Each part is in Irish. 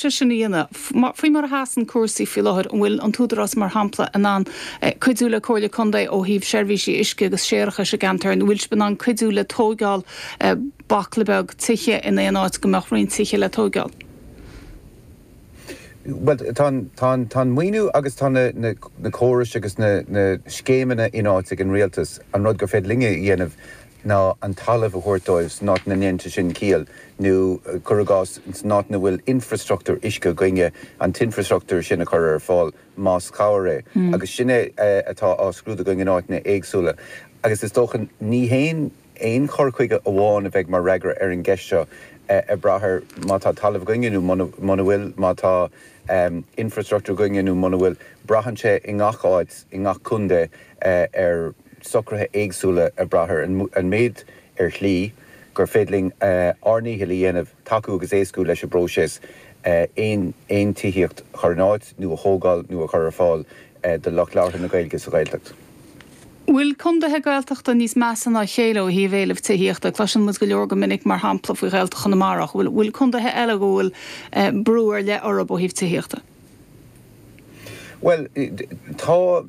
Sé sin a dhéanamh. Faoi mar a sheasann cúrsaí faoi láthair, an bhfuil an tÚdarás, mar shampla, in ann cuidiú le Comhairle Contae ó thaobh seirbhísí uisce agus séarachais i gceantar? An bhfuil sibh in ann cuidiú le tóigeáil baicle beag tithe in aon áit go mbeadh roinnt tithe le tóigeáil? Bhuel, tá an, tá an maoiniú agus tá na, na córais agus na, na scéimeanna in áit ag an rialtas. An rud gur féidir linne a dhéanamh ná an talamh a thabhairt dóibh san áit ina ndéanann sé sin ciall, nó cuir i gcás, san áit ina bhfuil infreastruchtúr uisce againne, an t-infreastruchtúr sin a chur ar fáil, más cabhair é. Agus sin é atá á scrúdú againn in áiteanna éagsúla. Agus is dócha, ní haon aon chur chuige amháin a bheidh mar fhreagra ar an gceist seo, ag brath ar má tá talamh againne nó muna bhfuil, má tá infreastruchtúr againne nó muna bhfuil. Braitheann sé i ngach áit, i ngach contae, ar socruithe éagsúla ag brath ar an méid ar shlí gur féidir linn ár ndícheall a dhéanamh tacú agus éascú leis an bpróiseas aon aon tithíocht a chur in áit nó a thógáil nó a chur ar fáil do lucht labhartha na Gaeilge sa Ghaeltacht. Bhfuil condaetha Gaeltachta níos measa ná a chéile ó thaobh éileamh tithíochta? Cloiseann muid go leor go minic mar shampla faoi Ghaeltacht Chonamara ach bhfuil condaetha eile go bhfuil brú ar leith orthu ó thaobh tithíochta? Bhuel, tá,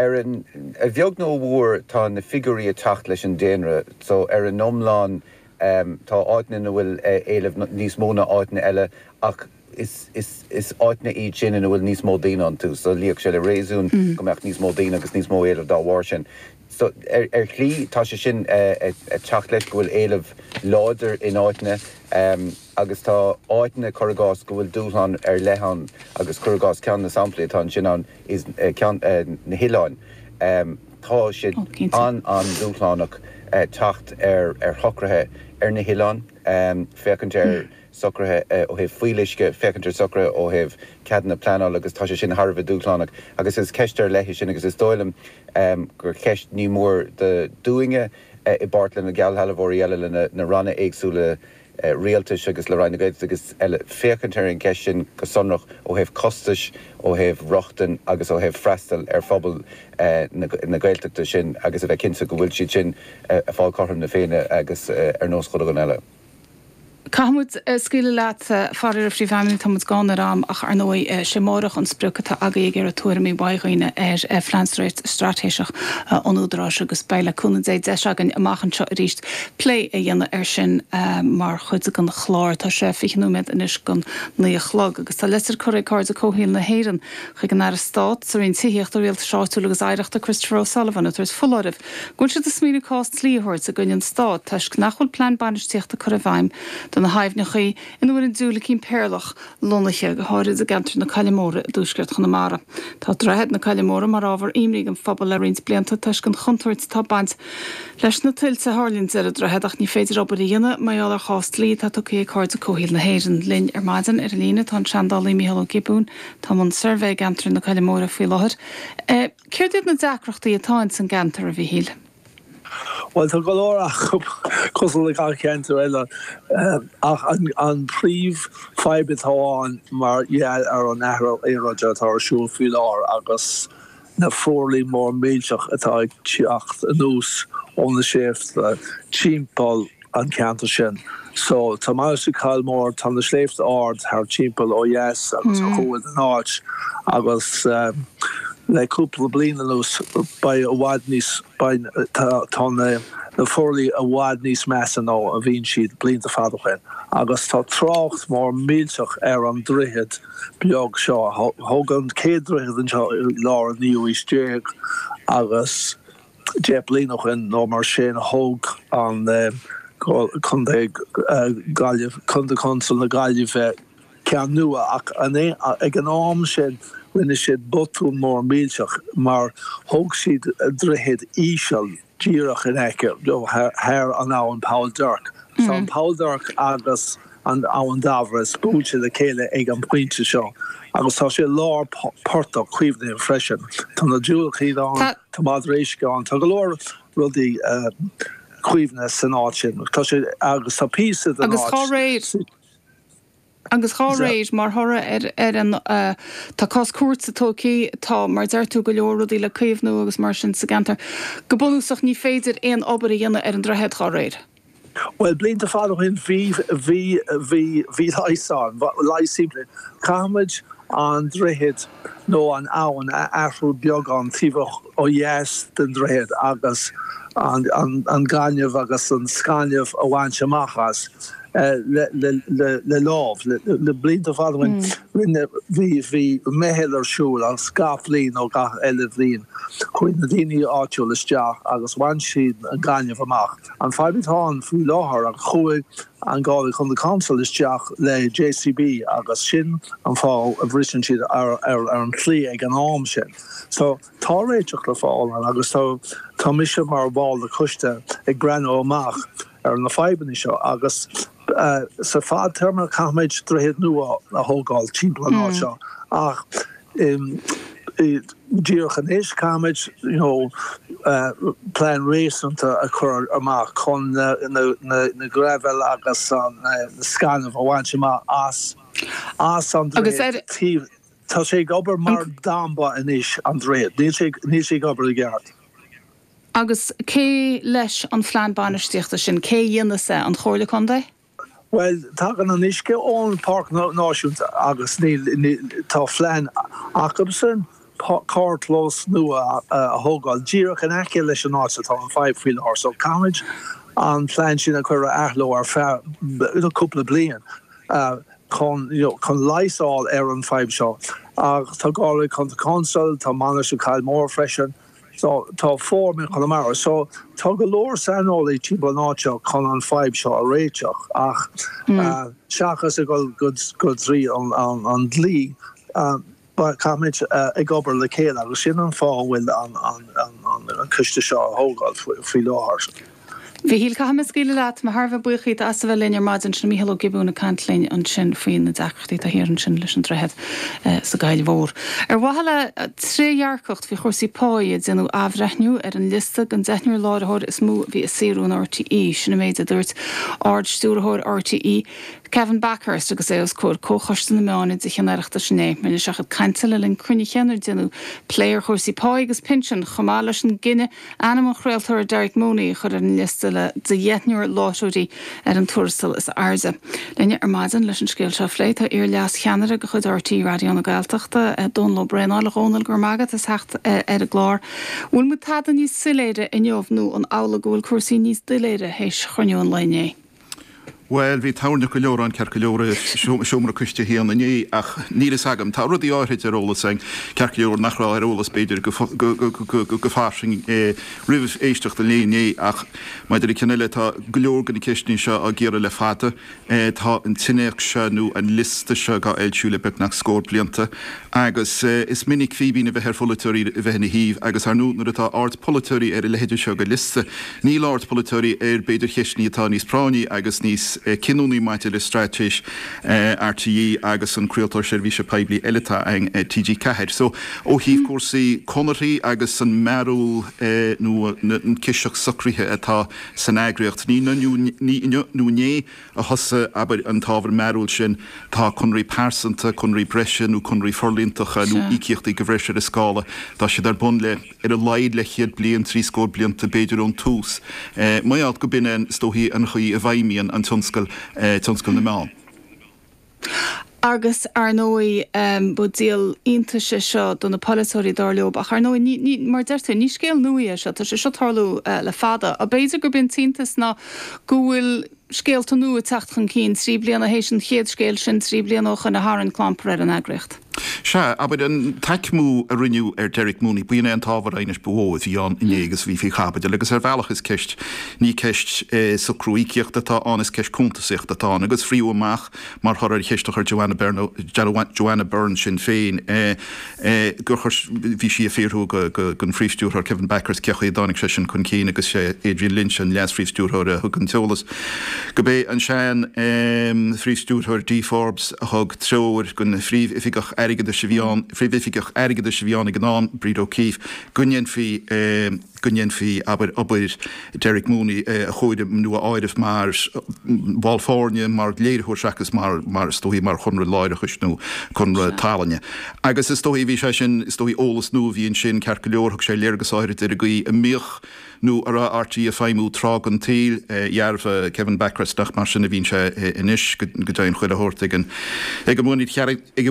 ar an, a bheag nó a mhór, tá na figiúirí ag teacht leis an daonra. So, ar an iomlán, tá áiteanna ina bhfuil éileamh níos mó ná áiteanna eile ach is, is, is áiteanna iad sin ina bhfuil níos mó daoine iontu. So, luífeadh sé le réasún go mbeadh níos mó daoine agus níos mó éilimh dá bharr sin. So, ar, ar shlí, tá sé sin ag teacht leis go bhfuil éileamh láidir in áiteanna. Agus tá áiteanna, cuir i gcás, go bhfuil dúshlán ar leith ann agus cuir i gcás ceann de na samplaí atá ansin ann is ceann, na hoileáin. Tá sé an-an-dúshlánach teacht ar ar shocruithe ar na hoileáin, féachaint ar socruithe ó thaobh fuíolluisce, féachaint ar socruithe ó thaobh ceadanna pleanála agus tá sé sin thar a bheith dúshlánach agus is ceist ar leith í sin agus is dóigh liom gur ceist ní mór dúinne i bpáirt le na geallsealbhóirí eile, le na ranna éagsúla rialtais agus le Roinn na Gaeltachta agus eile féachaint ar an gceist sin go sonrach ó thaobh costais, ó thaobh rochtain agus ó thaobh freastal ar phobal na Gaeltachta sin agus a bheith cinnte go bhfuil siad sin ag fáil cothrom na Féinne agus ar nós chuile dhuine eile. Caithfidh muid scaoileadh leat, faraor, a Phríomhfheidhmeannaigh, tá muid gann ar am ach ar ndóigh sé amáireach an sprioc atá agaibh ag iarraidh tuairimí uaidh dhaoine ar Phlean Straitéiseach an Údaráis agus beidh le cúnamh Dé deis againn amach anseo arís plé a dhéanamh air sin mar chuid den chlár. Tá sé 20 nóiméad anois don 9 a chlog agus tá litir curtha ag Cairde Comhshaoil na hÉireann chuig an Aire Stáit sa Roinn Tithíochta, Rialtais Áitiúil agus Oidhreachta, Christopher O'Sullivan, ag tabhairt foláirimh go bhfuil siad ag smaoineamh cás dlí a thabhairt i gcoinne an Stáit toisc nach bhfuil plean bainistíochta curtha i bhfeidhm do na haibhneacha ina bhfuil an diúilicín péarlach lonnaithe, go háirid i gceantar na Coille Móire i dtuaisceart Chonamara. Tá Droichead na Coille Móire mar ábhar imní don phobal le roinnt blianta toisc an chontúirt atá ag baint leis na tuilte a tharlaíonn ar an droichead ach ní féidir obair a dhéanamh mar gheall ar chás dlí atá tugtha ag Cairde Comhshaoil na hÉireann. Linn ar maidin ar an líne tá an seandálaí Mícheál Ó Giobúin atá i mbun suirbhé i gceantar na Coille Móire faoi láthair. Céard iad na deacrachtaí atá ins an gceantar, a Mhíchíl? Bhuel, tá go leor acu, cosúil le gach ceantar eile, ach an príomh-fhadhb atá ann mar gheall ar an athrú aeráide atá ar siúl faoi láthair agus na fuarlaigh mór millteach atá ag teacht anuas ó na sléibhte timpeall an ceantar sin. So, tá Mainistir Kylemore, tá na sléibhte ard thar timpeall ó dheas agus ó thuaidh den áit agus le cúpla bliain anuas beidh i bhfad níos, beidh, tá, tá na, na fuarlaigh i bhfad níos measa ná a bhíonn siad blianta fada ó shin agus tá trácht mór millteach ar an droichead beag seo. Thógadh an chéad droichead anseo i lár an naoú aois déag agus 10 bliain ó shin nó mar sin thóg an Contae Gaillimh, Contae Council na Gaillimhe ceann nua ach ag an am sin rinne siad botún mór millteach mar thóg siad droichead íseal díreach in aice, thar an abhainn Poll Duirc. Tá an Poll Duirc agus an Abhainn Dairbhre buailte le chéile ag an bpointe seo agus tá sé i lár portach caomhnaithe freisin. Tá na diúilicíní ann, tá madra uisce ann, tá go leor rudaí caomhnaithe san áit sin. Tá sé agus tá píosa den áit. Agus dá réir, agus dá réir, mar thoradh ar an, tá cás cúirte tógtha, tá, mar a deir tú, go leor rudaí le caomhnú agus mar sin sa gceantar. Go bunúsach ní féidir aon obair a dhéanamh ar an droichead dá réir. Bhuel, blianta fada ó shin bhí, bhí, bhí, bhí leigheas ann, leigheas simplí. Caithfimid an droichead nó an abhainn a athrú beagán taobh ó dheas den droichead agus an, an, an gaineamh agus an scaineamh a bhaint amach as le, le, le, le lámh. Le, le blianta fada ó shin rinne, bhí, bhí meitheal ar siúl agus gach bhliain nó gach eile bhliain chuaigh na daoine áitiúil isteach agus bhain siad an gaineamh amach. An fadhb atá ann faoi láthair ach chuaigh an Galway County Council isteach le JCB agus sin an fáth a bhriseann siad ar an tslí ag an am sin. So tá réiteach le fáil ann agus tá tá mise mar bhall de choiste ag breathnú amach ar na fadhbanna seo agus sa fadtéarma caithfimid droichead nua a thógáil timpeall an áit seo ach Díreach anois, caithfimid you know plean réasúnta a chur amach chun na graibhéil agus an scaineamh a bhaint amach as as an droichead taobh. Tá sé ag obair mar damba anois, an droichead. Níl sé níl sé ag obair i gceart. Agus cé leis an phlean bainistíochta sin? Cé a dhéanfas é? An Chomhairle Contae? Bhuel, tagann an uisce ón Páirc Náisiúnta agus níl, tá phlean acubsan carrchlós nua a thógáil díreach in aice leis an áit atá an fadhb faoi láthair. So caithfimid an plean sin a chur ar athló ar feadh cúpla bliain chun, you know, chun leigheas a fháil ar an fadhb seo. Ach tá Galway County Council, tá Mainistir Kylemore freisin, So, tá Fóram in Conamara. So, tá go leor saineolaí timpeall an áit seo chun an fadhb seo a réiteach ach seachas ag dul go trí an dlí, caithfimid ag obair le chéile agus sin an fáth a bhfuil an coiste seo á thógáil faoi láthair. Mhichíl, caithfidh mé scaoileadh leat. Mé thar a bheith buíoch díot as a bheith linn ar maidin. Sin Mícheál Ó Giobúin ag caint linn ansin faoi na deacrachtaí atá thiar ansin leis an droichead sa gCoill Mhór. Ar mhaithe le trédhearcacht faoi chúrsaí páí, déanadh athbhreithniú ar an liosta den deichniúr láithreoir is mó a bhí ag saothrú in RTÉ. Sin an méid a dúirt Ard-Stiúrthóir RTÉ, Kevin Bakhurst agus é os comhair Comhchoiste na Meán i dTithe an Oireachtais inné. Rinne sé a chuid cainte le linn cruinnithe inar déanadh plé ar chúrsaí páí agus pinsin, chomh maith leis an gcinneadh ainm an chraoltóra Derek Mooney a chur ar an liosta le de dheichniúr láithreoirí ar an tuarastal is airde. Linn ar maidin leis an scéal seo a phlé tá iar-leas-cheannaire de chuid RTÉ Raidió na Gaeltachta, Dónal Ó Braonáil. A Dhónaill, go raibh maith agat as theacht ar an gclár. Bhfuil muid tada níos soiléire inniu nó an amhlaidh go bhfuil cúrsaí níos doiléire théis chruinniú an lae inné? Bhuel, bhí toirneach go leor ann, ceart go leor, i seomra coiste a haon inné, ach níl fhios agam. Tá rudaí áithrid ar eolas againn, ceart go leor, nach raibh ar eolas, b'fhéidir, go fairsing roimh éisteacht an lae inné, ach maidir le ceann eile, tá go leor de na ceisteanna seo á gcíoradh le fada. Tá an t-innéacs seo, nó an liosta seo, dhá fhoilsiú le beagnach scór blianta, agus is minic fíbín a bheith ar pholaiteoirí a bheith ina thaobh, agus ar ndóigh, nuair atá aird polaiteoirí ar a leithéide seo de liosta, Níl aird polaiteoirí ar, b'fhéidir, cheisteanna atá níos práinní agus níos cinniúnaí maidir le straitéis RTÉ agus an craoltóir seirbhíse poiblí eile atá againn, TG4. So, ó thaobh cúrsaí conarthaí agus an mearúil nó an ciseach socraithe atá san eagraíocht, ní inniu nó inné a thosaigh, abair, an t-ábhar mearúil sin. Tá conarthaí pearsanta, conarthaí breise nó conarthaí forlíontacha nó íocaíochtaí de bhreis ar an scála, tá siad ar bun le. ar a laghad leathchéad bliain, 70 blianta b'fhéidir ón tús. Mar gheall go b'in é is dóichí an chaoi a bhfeidhmíonn an tionscal, tionscal na meán. Agus, ar ndóigh, ba díol iontais é seo do na polaiteoirí, dar leo. Ach, ar ndóigh, ní, ní, mar a deir tú, ní scéal nua é seo, tá sé seo ag tarlú le fada. B'fhéidir gurb é an t-iontas ná go bhfuil scéalta nua ag teacht chun cinn, 3 bliana théis an chéad scéil sin, 3 bliana ó shoin a tharraing clampar ar an eagraíocht. Sea, abair, an t-aicmiú a rinneadh ar Derek Mooney, b'in é an t-ábhar aighnis ba mhó a bhí ann inné agus a bhí faoi chaibidil agus ar bhealach is ceist, ní ceist socrú íocaíochta atá ann, is ceist cuntasaíochta atá ann agus frítheadh amach mar thoradh ar cheist a chuir Joanna Byrne, Joanna Byrne Sinn Féin, gur chuir, bhí sí ag fiafraí den Phríomh-Stiúrthóir Kevin Bakhurst cé chaoi a dtáinig sé sin chun cinn agus sé Adrian Lynch, an Leas-Phríomh-Stiúrthóir a thug an t-eolas. Gurb é an sean Phríomh-Stiúrthóir Dee Forbes a thug treoir don Phríomh-Oifigeach Airgeadais. Airgeadais a bhí ann, Phríomhoifigeach Airgeadais a bhí ann ag an am, Bríd O'Keeffe, go ndéanfaí, go ndéanfaí, abair, obair Derek Mooney a chomhaireamh nó a áireamh mar bhall foirne, mar léiritheoir seachas mar, mar is dóichí, mar chonradh láithreachais nó conradh tallainne. Agus is dóichí, bhí sé sin, is dóichí, eolas nua a bhí ansin, ceart go leor, thug sé léargas áirid ar an gcaoi a mbíodh nó a raibh RTÉ ag feidhmiú tráth den tsaol. Dhearbhaigh Kevin Bakhurst nach mar sin a bhíonn sé anois, go deimhin chuile shórt ag an, ag an.